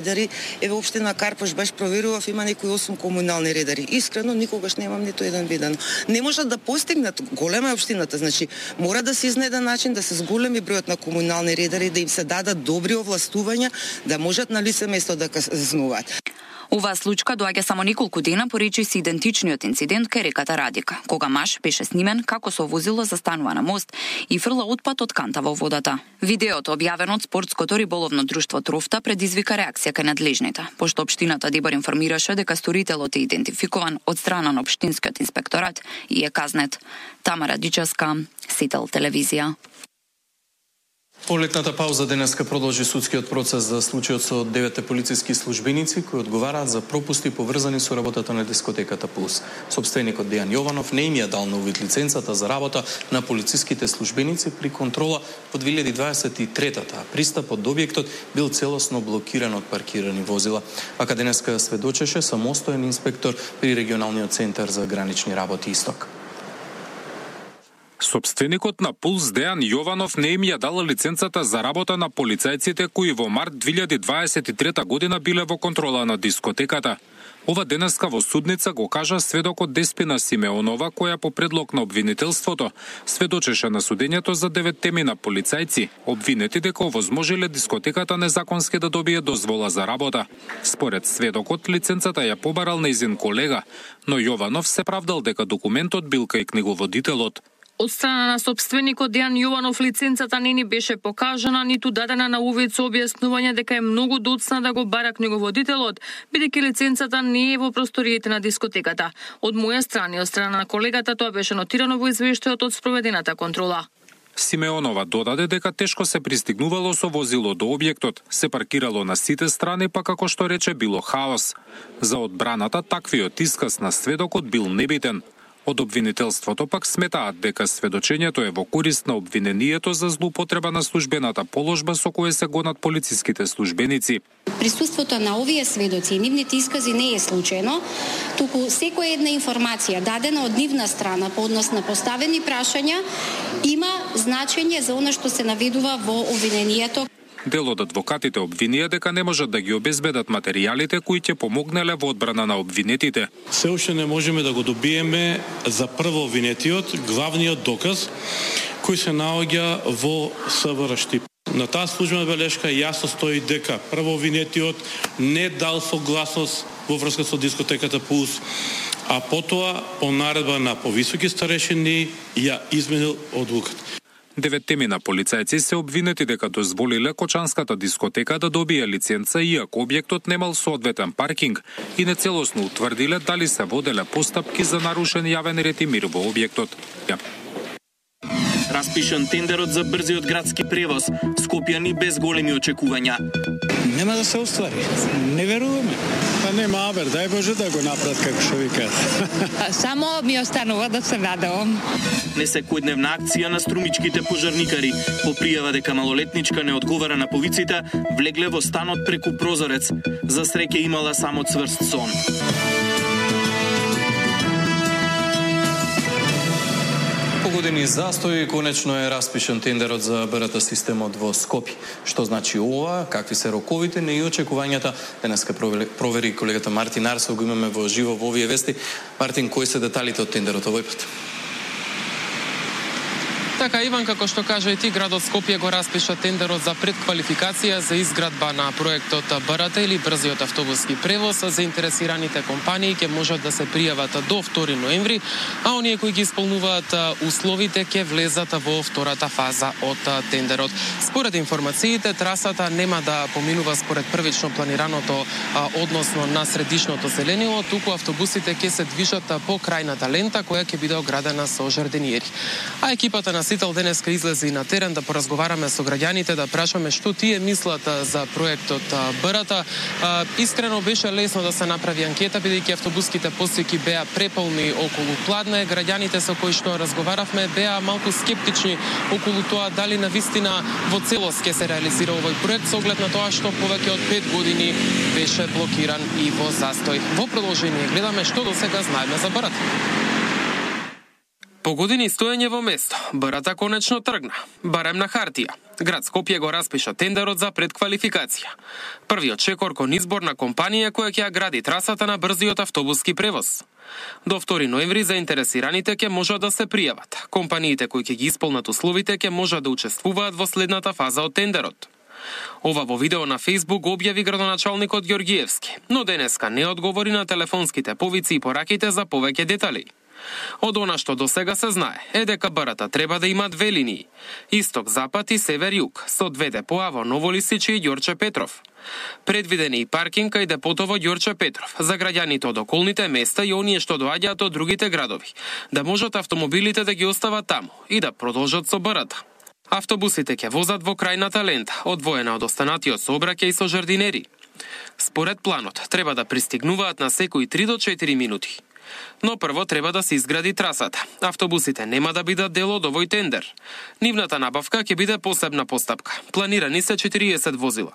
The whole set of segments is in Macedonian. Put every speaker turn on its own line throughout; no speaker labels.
Редари, еве општина Карпош баш проверував, има некои 8 комунални редари. Искрено никогаш немам ниту еден виден. Не можат да постигнат, голема е општината, значи мора да се изнајде начин да се зголеми бројот на комунални редари, да им се дадат добри овластувања, да можат на лице место да казнуваат.
Оваа случка доаѓа само неколку дена поречи се идентичниот инцидент кај реката Радика, кога маж беше снимен како со возило застанува на мост и фрла отпад од канта во водата. Видеото, објавено од спортското риболовно друштво Трофта, предизвика реакција кај надлежните, пошто општината Дибар информираше дека сторителот е идентификуван од страна на општинскиот инспекторат и е казнет. Тамара Дичевска, Сител телевизија.
По летната пауза денеска продолжи судскиот процес за случајот со 9 полициски службеници кои одговараат за пропусти поврзани со работата на дискотеката Пулс. Сопственикот Дејан Јованов не им ја дал на увид лиценцата за работа на полициските службеници при контрола по 2023-та, а пристапот до објектот бил целосно блокиран од паркирани возила. Вака денеска сведочеше самостоен инспектор при регионалниот центар за гранични работи Исток.
Сопственикот на Пулс Дејан Јованов не им ја дала лиценцата за работа на полицајците кои во март 2023 година биле во контрола на дискотеката. Ова денеска во судница го кажа сведокот Деспина Симеонова, која по предлог на обвинителството сведочеше на судењето за 9 на полицајци, обвинети дека овозможиле дискотеката незаконски да добие дозвола за работа. Според сведокот, лиценцата ја побарал нејзин колега, но Јованов се правдал дека документот бил кај книговодителот.
Од страна на сопственикот Дејан Јованов лиценцата не ни беше покажана, ниту дадена на увид со објаснување дека е многу доцна да го бара книговодителот, бидејќи лиценцата не е во просториите на дискотеката. Од моја страна и од страна на колегата тоа беше нотирано во извештајот од спроведената контрола.
Симеонова додаде дека тешко се пристигнувало со возило до објектот, се паркирало на сите страни, па како што рече било хаос. За одбраната таквиот исказ на сведокот бил небитен. Од обвинителството пак сметаат дека сведочењето е во корист на обвинението за злоупотреба на службената положба со која се гонат полициските службеници.
Присуството на овие сведоци и нивните искази не е случајно, туку секоја една информација дадена од нивна страна по однос на поставени прашања има значење за она што се наведува во обвинението.
Дел од адвокатите обвинија дека не можат да ги обезбедат материјалите кои ќе помогнале во одбрана на обвинетите.
Се уште не можеме да го добиеме за прво обвинетиот, главниот доказ кој се наоѓа во СВР Штип. На таа службена белешка јасно стои дека прво обвинетиот не дал согласност во врска со дискотеката Пулс, а потоа по наредба на повисоки старешини ја изменил одлуката.
9 на полицајци се обвинети дека дозволиле кочанската дискотека да добие лиценца иако објектот немал соодветен паркинг и нецелосно утврдиле дали се воделе постапки за нарушен јавен ред и мир во објектот.
Распишан тендерот за брзиот градски превоз, скопјани без големи очекувања.
Нема да се оствари. Не веруваме. Па нема, абер, дај Боже да го направат како што викаат.
Само ми останува да се надевам.
Несекојдневна акција на струмичките пожарникари. По пријава дека малолетничка не одговара на повиците, влегле во станот преку прозорец. За среќа имала само цврст сон.
Години застој конечно е распишан тендерот за БРТ системот во Скопје. Што значи ова, какви се роковите и очекувањата? Денеска провери колегата Мартин Арсов, го имаме во живо во овие вести. Мартин, кои се деталите од тендерот овој пат?
Така, Иван, како што кажа и ти, градот Скопје го распиша тендерот за предквалификација за изградба на проектот БРТ или брзиот автобуски превоз. Заинтересираните компании ќе можат да се пријават до 2 ноември, а оние кои ги исполнуваат условите ќе влезат во втората фаза од тендерот. Според информациите, трасата нема да поминува според првично планираното односно на средишното зеленило, туку автобусите ќе се движат по крајната лента која ќе биде оградена со жардениери. А екипата на Сител денеска излезе и на терен да поразговараме со граѓаните, да прашаме што тие мислат за проектот БРТ. Искрено беше лесно да се направи анкета, бидејќи автобуските посеки беа преполни околу Кладне. Граѓаните со кои што разговаравме беа малку скептични околу тоа дали навистина во целост ќе се реализира овој проект, со оглед на тоа што повеќе од 5 години беше блокиран и во застој. Во продолжение гледаме што досега знаеме за БРТ. По години стоење во место, БРТ конечно тргна, барем на хартија. Град Скопје го распиша тендерот за предквалификација. Првиот чекор кон избор на компанија која ќе ја гради трасата на брзиот автобуски превоз. До 2 ноември заинтересираните ќе можат да се пријават. Компаниите кои ќе ги исполнат условите ќе можат да учествуваат во следната фаза од тендерот. Ова во видео на Facebook објави градоначалникот Ѓоргиевски, но денеска не одговори на телефонските повици и пораките за повеќе детали. Од она што досега се знае е дека БРТ треба да има 2 линии: исток-запад и север-југ, со 2 депоа во Ново Лисиче и Ѓорче Петров. Предвиден е и паркинг кај депото во Ѓорче Петров за граѓаните од околните места и оние што доаѓаат од другите градови, да можат автомобилите да ги остават таму и да продолжат со БРТ. Автобусите ќе возат во крајната лента, одвоена од останатиот сообраќај со жардинери. Според планот, треба да пристигнуваат на секои 3 до 4 минути. Но прво треба да се изгради трасата. Автобусите нема да бидат дел од овој тендер. Нивната набавка ќе биде посебна постапка. Планирани се 40 возила.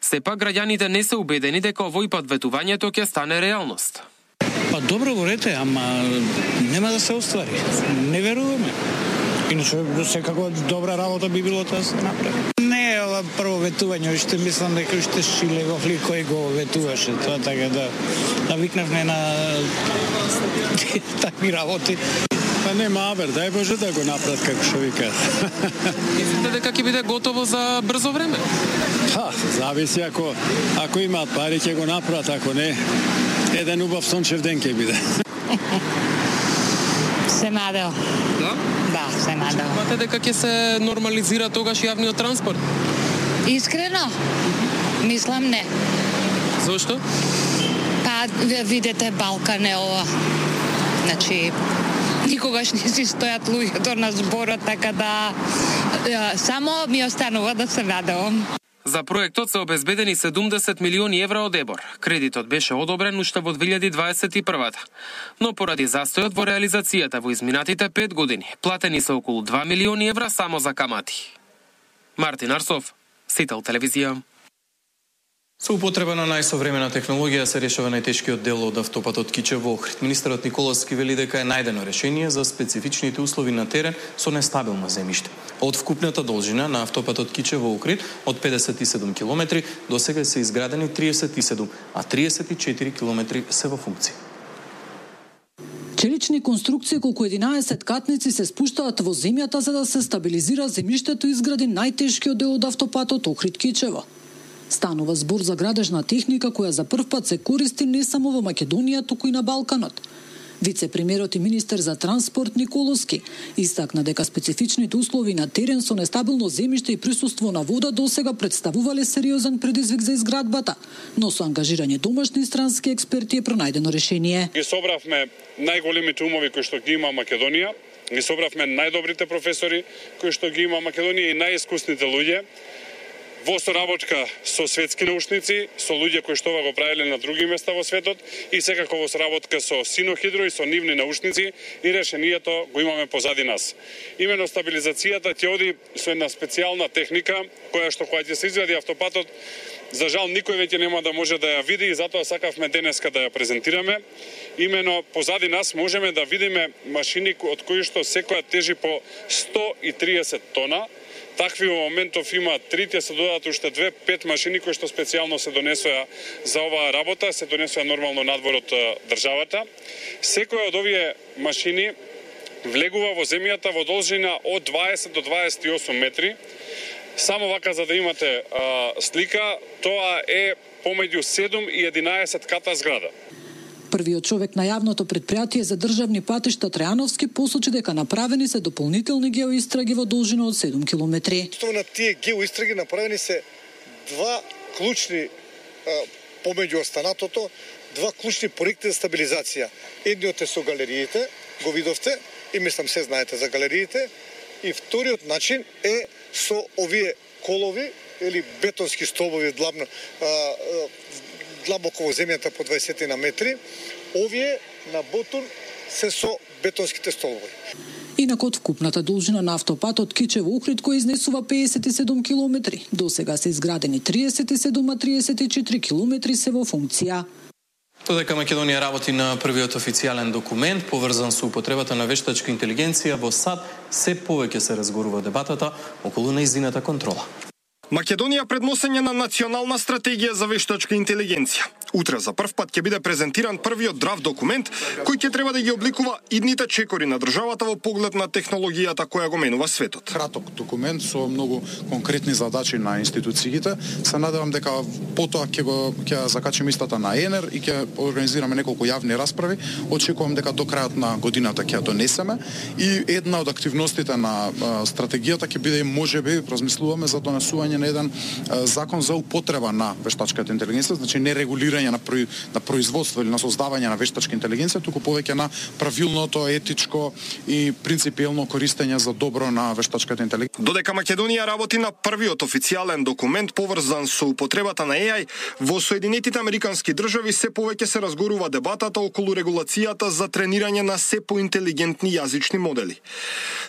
Сепак граѓаните не се убедени дека овој пат ветувањето ќе стане реалност.
Па добро говорите, ама нема да се оствари. Не веруваме. Иначе секако добра работа би било да се направи. Не е ова прво ветување, уште мислам дека уште Шилегов ли кој го ветуваше тоа, така да навикнавме на такви работи. Па нема абер, дај Боже да го направат како што викаат.
Мислите дека ќе биде готово за брзо време?
Па, зависи ако имаат пари ќе го направат, ако не, еден убав сончев ден ќе биде.
Се надел.
Да?
Да, се надел.
Мате дека ќе се нормализира тогаш јавниот транспорт?
Искрено? Мислам не.
Зошто?
Па, видете, Балкан е ова. Значи, никогаш не си стојат луѓето на зборот, така да само ми останува да се надевам.
За проектот се обезбедени 70 милиони евра од ЕБОР. Кредитот беше одобрен уште во 2021. Но поради застојот во реализацијата во изминатите 5 години, платени се околу 2 милиони евра само за камати. Мартин Арсов, Сител телевизија.
Со употреба на најсовремена технологија се решава најтешкиот дел од автопатот Кичево Охрид. Министерот Николовски вели дека е најдено решение за специфичните услови на терен со нестабилно земјиште. Од вкупната должина на автопатот Кичево Охрид од 57 км до сега се изградени 37, а 34 км се во функција.
Челични конструкции колку 11 катници се спуштаат во земјата за да се стабилизира земјиштето и изгради најтешкиот дел од автопатот Охрид Кичево. Станува збор за градежна техника која за првпат се користи не само во Македонија, туку и на Балканот. Вице-премиерот и министер за транспорт Николовски истакна дека специфичните услови на терен со нестабилно земјиште и присуство на вода досега представувале сериозен предизвик за изградбата, но со ангажирање домашни и странски експерти е пронајдено решение.
Ги собравме најголемите умови кои што ги има Македонија, ги собравме најдобрите професори кои што ги има Македонија и најискусните луѓе во соработка со светски научници, со луѓе кои што ова го правеле на други места во светот и секако во соработка со Синохидро и со нивни научници и решението го имаме позади нас. Имено стабилизацијата ќе оди со една специјална техника која што кога ќе се извади автопатот, за жал никој веќе нема да може да ја види и затоа сакавме денеска да ја презентираме. Имено позади нас можеме да видиме машини од кои што секоја тежи по 130 тона. Такви во моментов има 3, се додадат уште 2, 5 машини кои што специјално се донесоа за оваа работа, се донесоа нормално надвор од државата. Секоја од овие машини влегува во земјата во должина од 20 до 28 метри. Само вака за да имате слика, тоа е помеѓу 7 и 11 ката зграда.
Првиот човек на јавното претпријатие за државни патишта Трајановски посочи дека направени се дополнителни геоистраги во должина од 7 километри.
На тие геоистраги направени се два клучни помеѓу останатото, два клучни проекти за стабилизација. Едниот е со галериите, го видовте и мислам се знаете за галериите, и вториот начин е со овие колови или бетонски столбови длабоко во земјата по 20 на метри, овие на ботун се со бетонските столбови.
Инаку од вкупната должина на автопатот Кичево Охрид кој изнесува 57 километри, до сега се изградени 37, а 34 километри се во функција.
Додека Македонија работи на првиот официјален документ поврзан со употребата на вештачка интелигенција во САД, се повеќе се разгорува дебатата околу нејзината контрола.
Македонија пред носење на национална стратегија за вештачка интелигенција. Утре за прв пат ќе биде презентиран првиот драфт документ кој ќе треба да ги обликува идните чекори на државата во поглед на технологијата која го менува светот.
Краток документ со многу конкретни задачи на институциите. Се надевам дека потоа ќе закачиме истата на ЕНЕР и ќе организираме неколку јавни расправи. Очекувам дека до крајот на годината ќе ја донесеме и една од активностите на стратегијата ќе биде можеби размислуваме за донесување на еден закон за употреба на вештачката интелигенција, значи не регулирање на производство или на создавање на вештачка интелигенција, туку повеќе на правилното, етичко и принципиелно користење за добро на вештачката интелигенција.
Додека Македонија работи на првиот официјален документ поврзан со употребата на AI, во Соединетите Американски држави се повеќе се разгорува дебатата околу регулацијата за тренирање на се поинтелигентни јазични модели.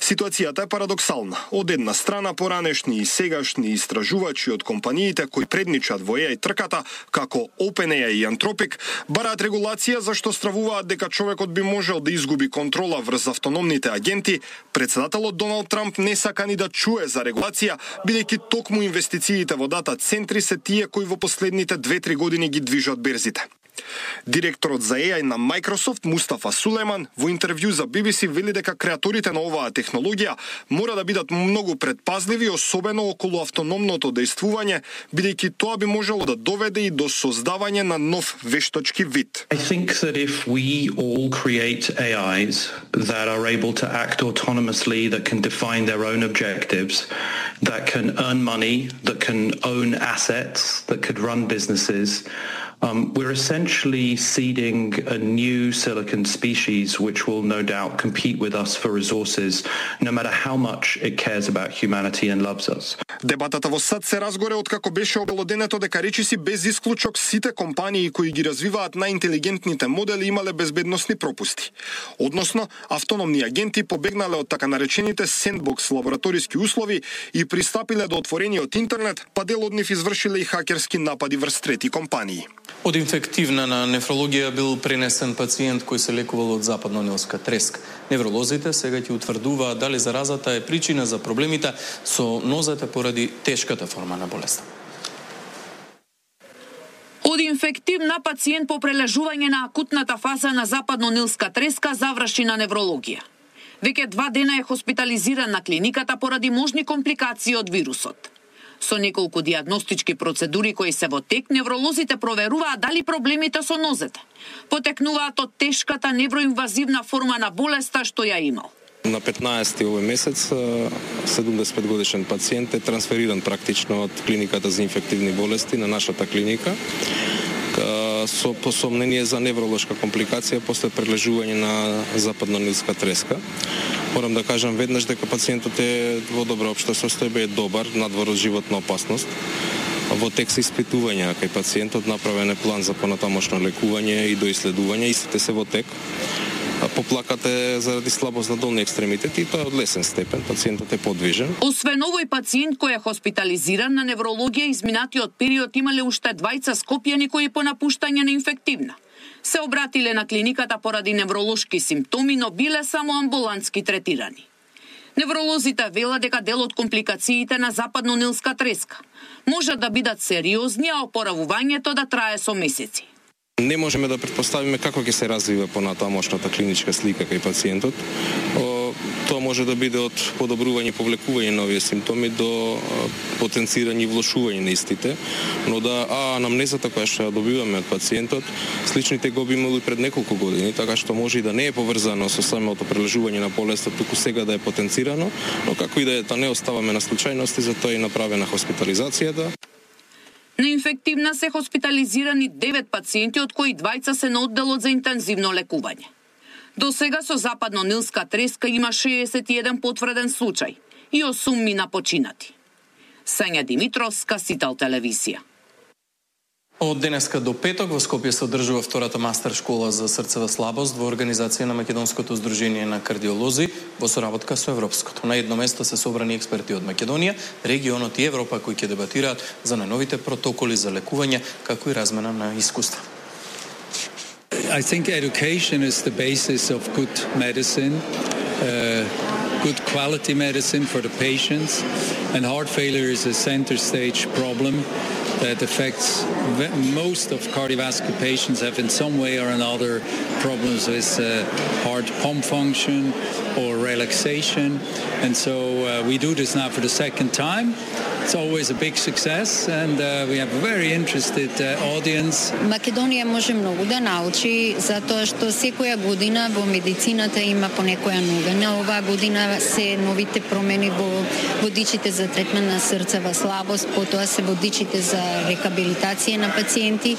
Ситуацијата е парадоксална. Од една страна поранешни и сегашни истражувачи од компаниите кои предничат во AI трката, како OpenAI и Anthropic, бараат регулација зашто стравуваат дека човекот би можел да изгуби контрола врз автономните агенти. Председателот Доналд Трамп не сака ни да чуе за регулација, бидејќи токму инвестициите во дата центри се тие кои во последните 2-3 години ги движат берзите. Директорот за AI на Microsoft, Мустафа Сулейман, во интервју за BBC вели дека креаторите на оваа технологија мора да бидат многу предпазливи, особено околу автономното дејствување, бидејќи тоа би можело да доведе и до создавање на нов вештачки вид.
I think that if we all create AIs that are able to act autonomously, that can define their own objectives, that can earn money, that can own assets, that could run businesses, we're essentially seeding a new silicon species which will no doubt compete with us for resources, no matter how much it cares about humanity and loves us.
Дебатата во САД се разгоре откако беше обелоденето дека речиси без исклучок сите компании кои ги развиваат најинтелигентните модели имале безбедносни пропусти. Односно, автономни агенти побегнале од така наречените сендбокс лабораториски услови и пристапиле до отворениот интернет, па дел од нив извршиле и хакерски напади врз трети компании.
Од инфективна на нефрологија бил пренесен пациент кој се лекувал од западно-нилска треска. Невролозите сега ќе утврдуваат дали заразата е причина за проблемите со нозете поради тешката форма на болеста.
Од инфективна пациент по прележување на акутната фаза на западно-нилска треска заврши на неврологија. Веќе 2 дена е хоспитализиран на клиниката поради можни компликации од вирусот. Со неколку диагностички процедури кои се во тек, невролозите проверуваат дали проблемите со нозете потекнуваат од тешката невроинвазивна форма на болеста што ја имал.
На 15 овој месец 75 годишен пациент е трансфериран практично од клиниката за инфективни болести на нашата клиника со посомнение за невролошка компликација после прележување на западно-нилска треска. Морам да кажам веднаш дека пациентот е во добро општо состојба, е добар, надвор од животна опасност. Во тек се испитувања кај пациентот, направен е план за понатамошно лекување и доиследување, истите се во тек. Поплакат е заради слабост на долни екстремитети и тоа е од лесен степен, пациентот е подвижен.
Освен овој пациент кој е хоспитализиран на неврологија, изминатиот период имале уште 2 скопјани кои по напуштање на инфективна се обратиле на клиниката поради невролошки симптоми, но биле само амбулантски третирани. Невролозите велат дека дел од компликациите на западно-нилска треска може да бидат сериозни, а опоравувањето да трае со месеци.
Не можеме да претпоставиме како ќе се развива понатамошната клиничка слика кај пациентот. Тоа може да биде од подобрување и повлекување на овие симптоми до потенцирање и влошување на истите, но да анамнезата која што ја добиваме од пациентот, сличните го би имали пред неколку години, така што може и да не е поврзано со самото прележување на болеста, туку сега да е потенцирано, но како и да е, да не оставаме на случајности, затоа е направена хоспитализацијата.
На инфективна се хоспитализирани 9 пациенти, од кои 2 се на одделот за интензивно лекување. До сега со западно-нилска треска има 61 потврден случај и 8 мина починати. Сања Димитровска, Сител телевизија.
Од денеска до петок во Скопје се одржува втората мастер школа за срцева слабост во организација на Македонското здружение на кардиолози во соработка со Европското. На едно место се собрани експерти од Македонија, регионот и Европа кои ќе дебатираат за најновите протоколи за лекување, како и размена на искуства.
I think education is the basis of good medicine. Good quality medicine for the patients, and heart failure is a center stage problem that affects most of cardiovascular patients have in some way or another problems with heart pump function or relaxation, and so we do this now for the second time. It's always a big success, and we have a very interested audience.
Македонија може многу да научи, затоа што секоја година во медицината има по некоја новина. Оваа година се новите промени во водичите за третман на срцева слабост, потоа се водичите за рехабилитација на пациенти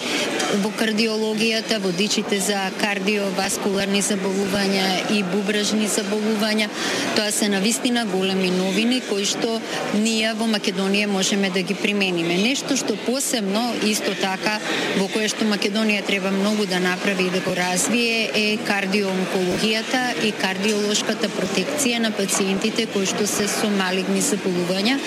во кардиологијата, водичите за кардиоваскуларни заболувања и бубрежни заболувања. Тоа се навистина големи новини кои што ние во Македонија можеме да ги примениме. Нешто што посебно исто така во кое што Македонија треба многу да направи и да го развие е кардиоонкологијата и кардиолошката протекција на пациентите кои што се со малигни заболувања.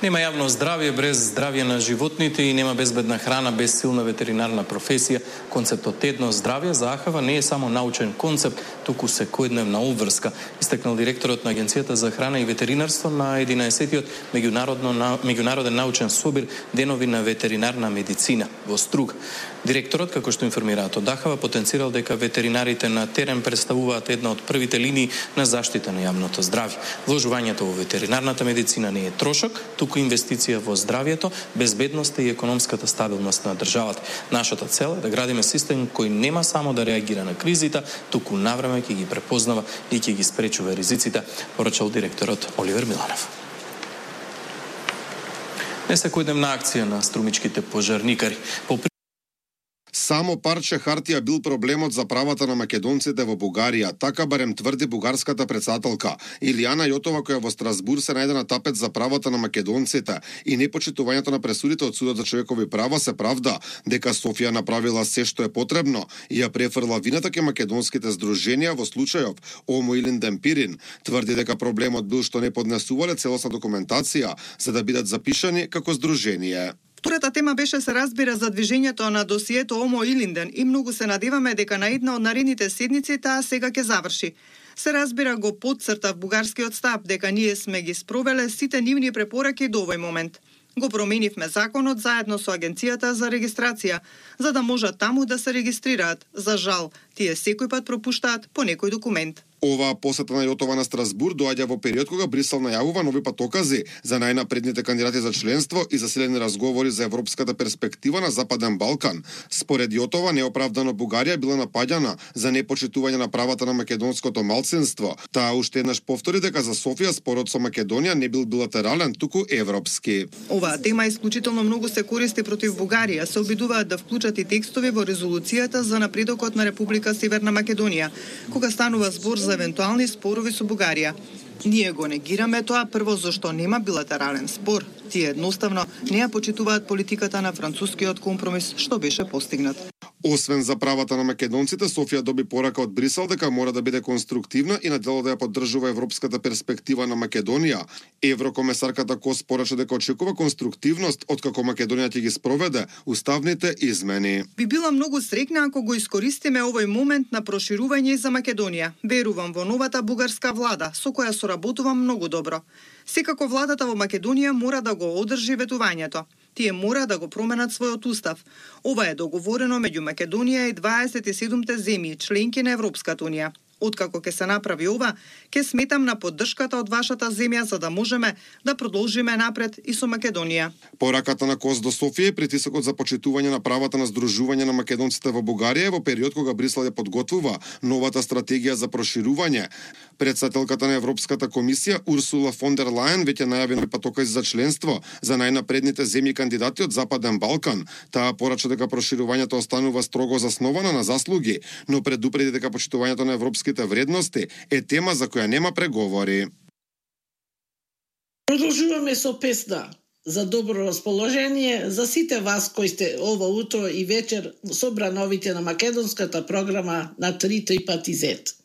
Нема јавно здравје без здравје на животните и нема безбедна храна без силна ветеринарна професија. Концептот едно здравје за АХВ не е само научен концепт, туку секојдневна обврска, истакнал директорот на Агенцијата за храна и ветеринарство на 11-тиот меѓународен научен собир Денови на ветеринарна медицина во Струг. Директорот, како што информираат од АХВ, потенцирал дека ветеринарите на терен представуваат една од првите линии на заштита на јавното здравје. Вложувањето во ветеринарната медицина не е трошок, туку инвестиција во здравјето, безбедноста и економската стабилност на државата. Нашата цел е да градиме систем кој нема само да реагира на кризите, туку навреме ќе ги препознава и ќе ги спречува ризиците, порачал директорот Оливер Миланов. Не секојдневна акција на струмичките пожарникари.
Само парче хартија бил проблемот за правата на македонците во Бугарија, така барем тврди бугарската претседателка. Илијана Јотова, која во Страсбур се најде на тапет за правата на македонците и непочитувањето на пресудите од Судот за човекови права, се правда дека Софија направила се што е потребно и ја префрла вината ке македонските здруженија во случајов Омо Илинден Пирин. Тврди дека проблемот бил што не поднесувале целосна документација за да бидат запишани како здружение.
Втората тема беше се разбира за движењето на досието Омо Илинден и многу се надеваме дека на една од наредните седници таа сега ќе заврши. Се разбира го потцртав бугарскиот став дека ние сме ги спровеле сите нивни препораки до овој момент. Го променивме законот заедно со Агенцијата за регистрација, за да можат таму да се регистрираат. За жал, тие секој пат пропуштаат по некој документ.
Оваа посета на Јотова на Страсбур доаѓа во период кога Брисел најавува нови патокази за најнапредните кандидати за членство и засилени разговори за европската перспектива на Западен Балкан. Според Јотова, неоправдано Бугарија била напаѓана за непочитување на правата на македонското малцинство. Таа уште еднаш повтори дека за Софија спорот со Македонија не бил билатерален, туку европски.
Оваа тема исклучително многу се користи против Бугарија. Се обидуваат да вклучат и текстови во резолуцијата за напредокот на Република Северна Македонија, кога станува збор за евентуални спорови со Бугарија. Ние го негираме тоа прво зашто нема билатерален спор. Тие едноставно не ја почитуваат политиката на францускиот компромис што беше постигнат.
Освен за правата на македонците, Софија доби порака од Брисел дека мора да биде конструктивна и на дело да ја поддржува европската перспектива на Македонија. Еврокомесарката Кос порача дека очекува конструктивност откако Македонија ќе ги спроведе уставните измени.
Би била многу среќна ако го искористиме овој момент на проширување за Македонија. Верувам во новата бугарска влада, со која соработувам многу добро. Секако владата во Македонија мора да го одржи ветувањето. Тие мора да го променат својот устав. Ова е договорено меѓу Македонија и 27 земји, членки на Европската унија. Откако ќе се направи ова, ќе сметам на поддршката од вашата земја за да можеме да продолжиме напред и со Македонија.
Пораката на Кос до Софија е притисокот за почитување на правата на здружување на македонците во Бугарија во период кога Брисел ја подготвува новата стратегија за проширување. Претседателката на Европската комисија Урсула фон дер Лајен веќе најави нови патокази за членство за најнапредните земји кандидати од Западен Балкан. Таа порача дека проширувањето останува строго засновано на заслуги, но предупреди дека почитувањето на европските вредности е тема за која нема преговори.
Продолжуваме со песна за добро расположение за сите вас кои сте ова утро и вечер собрановите на македонската програма на 3 пати Z.